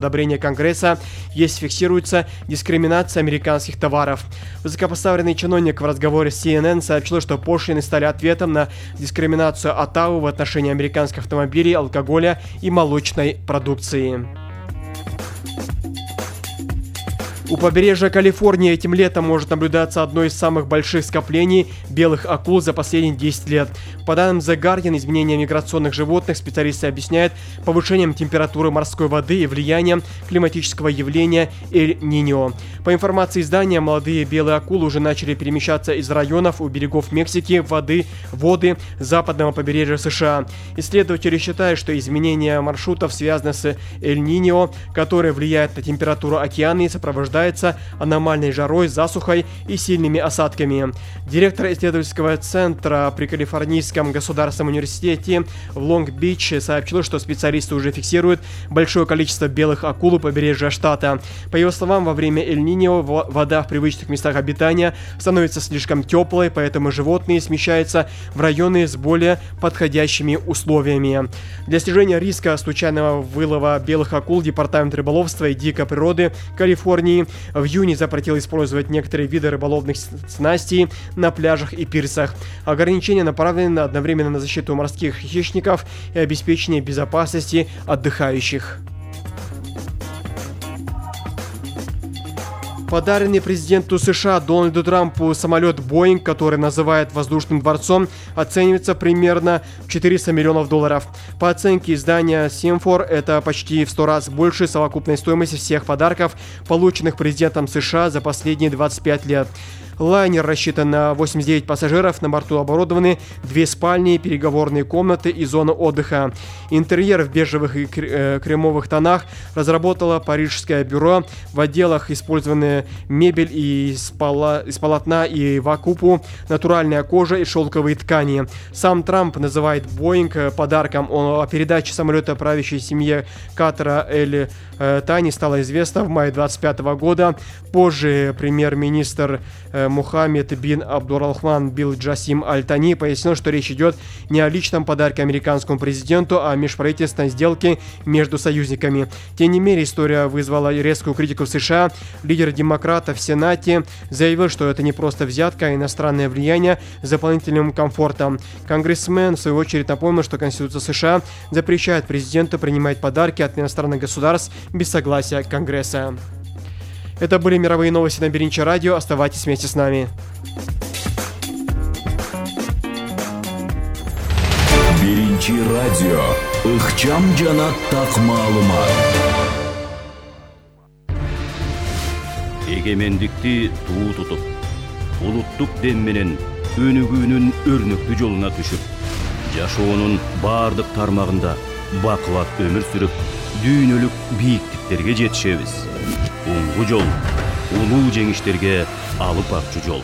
одобрения Конгресса, если фиксируется дискриминация американских товаров. Высокопоставленный чиновник в разговоре с CNN сообщил, что пошлины стали ответом на дискриминацию Оттавы в отношении американских автомобилей, алкоголя и молочной продукции. У побережья Калифорнии этим летом может наблюдаться одно из самых больших скоплений белых акул за последние 10 лет. По данным The Guardian, изменение миграционных животных специалисты объясняют повышением температуры морской воды и влиянием климатического явления Эль-Ниньо. По информации издания, молодые белые акулы уже начали перемещаться из районов у берегов Мексики в воды западного побережья США. Исследователи считают, что изменение маршрутов связано с Эль-Ниньо, которое влияет на температуру океана и сопровождается аномальной жарой, засухой и сильными осадками. Директор исследовательского центра при Калифорнийском государственном университете в Лонг-Бич сообщил, что специалисты уже фиксируют большое количество белых акул у побережья штата. По его словам, во время Эль-Ниньо вода в привычных местах обитания становится слишком теплой, поэтому животные смещаются в районы с более подходящими условиями. Для снижения риска случайного вылова белых акул Департамент рыболовства и дикой природы Калифорнии в июне запретил использовать некоторые виды рыболовных снастей на пляжах и пирсах. Ограничения направлены одновременно на защиту морских хищников и обеспечение безопасности отдыхающих. Подаренный президенту США Дональду Трампу самолет Boeing, который называют воздушным дворцом, оценивается примерно в $400 миллионов. По оценке издания Симфор, это почти в 100 раз больше совокупной стоимости всех подарков, полученных президентом США за последние 25 лет. Лайнер рассчитан на 89 пассажиров, на борту оборудованы 2 спальни, переговорные комнаты и зона отдыха. Интерьер в бежевых и кремовых тонах разработало парижское бюро. В отделах использованы мебель из полотна и вакупу, натуральная кожа и шелковые ткани. Сам Трамп называет Boeing подарком. О передаче самолета правящей семье Катара Эль-Тани стало известно в мае 2025 года. Позже премьер-министр Мухаммед бин Абдурахман бин Джасим Аль-Тани пояснил, что речь идет не о личном подарке американскому президенту, а о межправительственной сделке между союзниками. Тем не менее, история вызвала резкую критику в США. Лидер демократов в Сенате заявил, что это не просто взятка, а иностранное влияние с дополнительным комфортом. Конгрессмен, в свою очередь, напомнил, что Конституция США запрещает президенту принимать подарки от иностранных государств без согласия Конгресса. Это были мировые новости на Беринчи радио. Оставайтесь вместе с нами. Беринчи радио. Ыкчам жана так маалымат. Эгемендикти туу тутуп, улуттук дем менен өнүгүүнүн өрнөктүү жолуна түшүп, жашоонун бардык тармагында бакубат өмүр сүрүп, дүйнөлүк бийиктиктерге жетишебиз. Оңгу жол, улуу жеңиштерге алып барчу жол.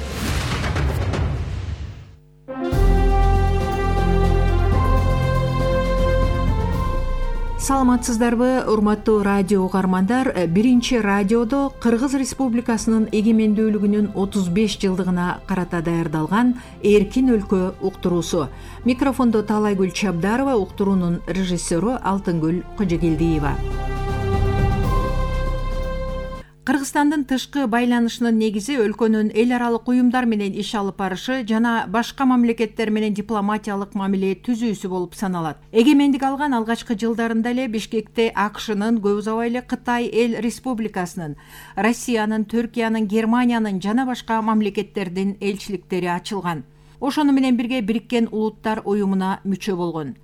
Саламатсыздарбы, урматтуу радио угармандар. Биринчи радиодо Кыргыз Республикасынын эгемендүүлүгүнүн 35 жылдыгына карата даярдалган Эркин өлкө уктуруусу. Микрофондо Талайгүл Чабдарова, уктуруунун режиссеру Алтынгүл Кожогелдиева. Кыргызстандын тышкы байланышынын негизи өлкөнүн эл аралык уюмдар менен иш алып барышы жана башка мамлекеттер менен дипломатиялык мамиле түзүүсү болуп саналат. Эгемендик алган алгачкы жылдарында эле Бишкекте АКШнын, көп узабай эле Кытай Эл Республикасынын, Россиянын, Түркиянын, Германиянын жана башка мамлекеттердин элчиликтери ачылган. Ошону менен бирге Бириккен Улуттар уюмуна мүчө болгон.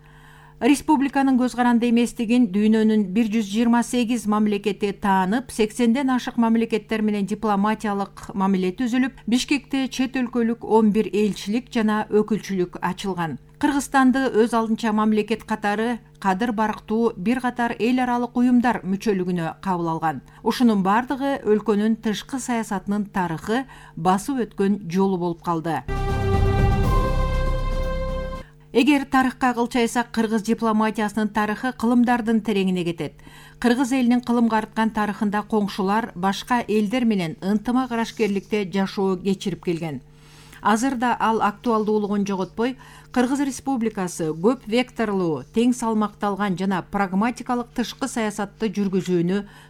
Республиканын көз каранды эместигин дүйнөнүн 128 мамлекети таанып, 80ден ашык мамлекеттер менен дипломатиялык мамиле түзүлүп, Бишкекте чет өлкөлүк 11 элчилик жана өкүлчүлүк ачылган. Кыргызстанды өз алдынча мамлекет катары кадыр барктуу бир катар эл аралык уюмдар мүчөлүгүнө кабыл алган. Ушунун бардыгы өлкөнүн тышкы саясатынын тарыхы, басып өткөн жолу болуп калды. Эгер тарыхка кылчайсак, кыргыз дипломатиясынын тарыхы кылымдардын тереңине кетет. Кыргыз элинин кылымга арткан тарыхында коңшулар башка элдер менен ынтымак арашкерликте жашоо кечирип келген. Азырда ал актуалдуулугун жоготпой, Кыргыз Республикасы көп векторлуу, тең салмакталган жана прагматикалык тышкы саясатты жүргүзүүнү